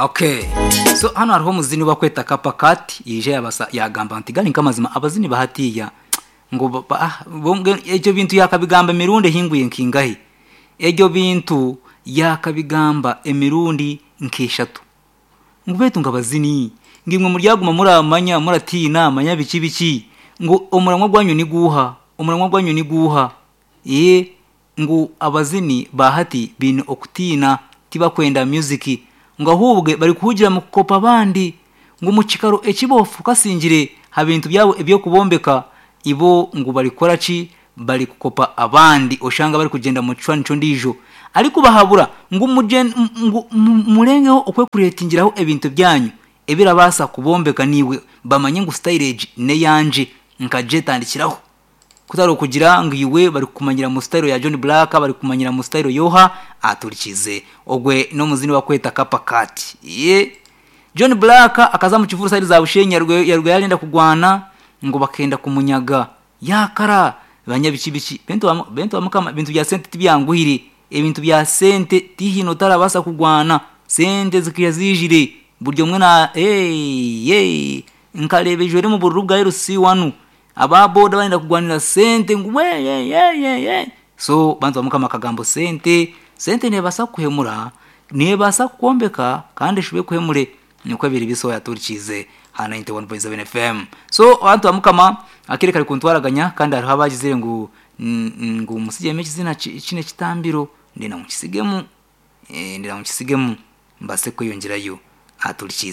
Okay, so hano hariho omuzini bakweta Kapa Cat, yaija yabasa yagamba nti gari nk'amazima abazini bahatiya ngu ebyo bintu yakabigamba emirundi ehingwire nkingahi, ebyo bintu yakabigamba emirundi nk'eshatu, ngu beitu ngu abazini ngu imwe muryaguma muramanya muratiina manya biki biki, ngu omuramwa gwanyu niguuha, omuramwa gwanyu niguuha, ee ngu abazini ba hati baine okutiina tibakwenda music, ngu ahubwe barikuhugira mu kukopa abandi, ngu omu kikaro eki bofokasingire ha bintu byabo eby'okubombeka, ibo ngu barikukora ki, barikukopa abandi oshanga barikugyenda mu kishushani ky'ondiijo. Arikubahabura ngu ngu murengeho okwekureetingiraho ebintu byanyu ebirabaasa kubombeka naiwe bamanye ngu sitayiro egi n'eyangye nkagyetandikiraho. Kutari okugira ngu iwe barikukumanyira mu sitayiro ya John Blaq, barikukumanyira mu sitayiro y'oha, aturikize. Ogwe n'omuzini bakweta Kapa Cat. Ye John Blaq akaza omu kivuru sayidi za Bushenyi yarugayo arenda kugwana ngu bakenda kumunyaga. Yaakara banya biki biki. Beitu bamukama ebintu bya sente tibyanguhire. Ebintu bya sente tihaine otarabaasa kugwana. Sente zikaija ziijire buri omwe na hey nkareeba ejwire omu bururu bwa LC wanu aba boda barenda kugwanira sente ngu wee so bantu bamukama akagambo sente, sente neebaasa kukuhemura, neebaasa kukwombeka kandi eshube ekuhemure. Nikwo biri bisa oyaturikiize aha 91.7 FM. So bantu bamukama akaire kari kuntwaraganya kandi hariho abagizire ngu ngu musigyemu ekizina kinu ekitambiro ndenda ngu nkisigemu, ndenda ngu nkisigemu mbaase kweyongyerayo aturikiize.